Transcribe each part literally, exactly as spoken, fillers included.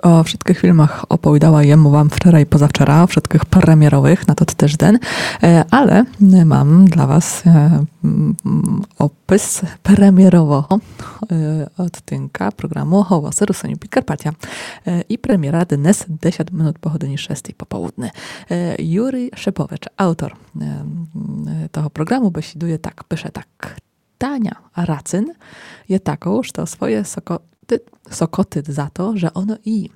О wszytkich filmach opowiadała jem wam wczoraj, pozawczora, o wszytkich premierowych na ten tyżdeń, e, ale mam dla was e, mm, opis premierowego e, odcinka programu Hołosy Rusynów Podkarpacia. E, I premiera dnes, dziesięć minut po godzinie szóstej po południu. E, Juri Szepowicz, autor e, mm, tego programu, besiduje tak, pisze tak. Tania Racyn je taką, że to swoje sokoty, sokoty za to, że ono i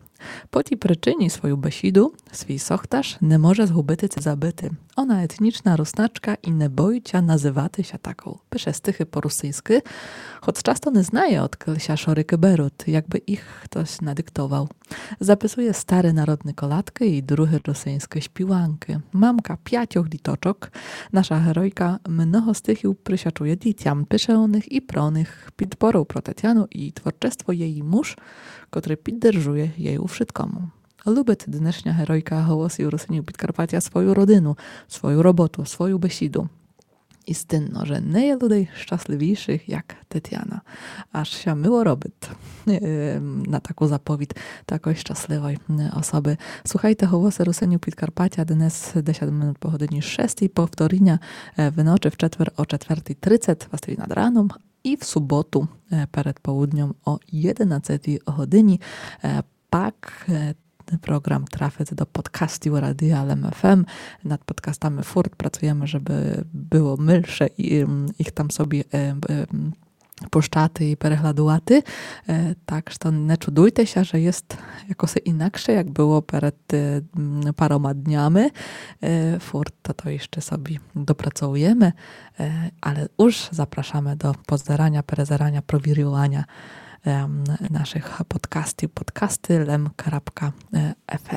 po tій причині свою бесіду, свій сохташ не може згубити ци забити. Она етнічна руснацька і не боїть ся называти ся таком. Пише стихы по русиньскы, хоц часто не знає, одкіль ся шорикы берут, якбы їх хтось надиктовав. Записує стары народны колядкы і другы русиньскы співанкы. Мамка пятьох діточок, наша геройка много стихів присвячує дітям, пише о них і про них. Підпору про Тетяну і творчество є її муж, котрый піддержує її у вшыткому. Любить днешня геройка Голосів Русинів Підкарпатя свою родину, свою роботу, свою бесіду. Істинно, же не є людей щасливіших, як Тетяна. Аж ся мило робить е, на таку заповідь такої щасливої е, особи. Слухайте Голосы Русинів Підкарпатя днес, десять минут по годині шостій, повторіня е, виночы в четвер о четвертій тридцять, властиві над раном, і в суботу е, перед полудньом о єдинадцятій годині. Е, пак е, Program трафить до подкастів Радія Лем Ф М. Над подкастами фурт працуєме, жебы было милше і, м, їх там собі е, е, м, пущати і переглядувати. Е, так што не чудуйте ся, же єст якоси інакше, як было перед е, м, парома днями. Е, фурт то іщы собі допрацуєме, е, але уж запрашаме до позераня, перезераня, провірюваня ем, нашых подкастів, подкасты лем крапка ф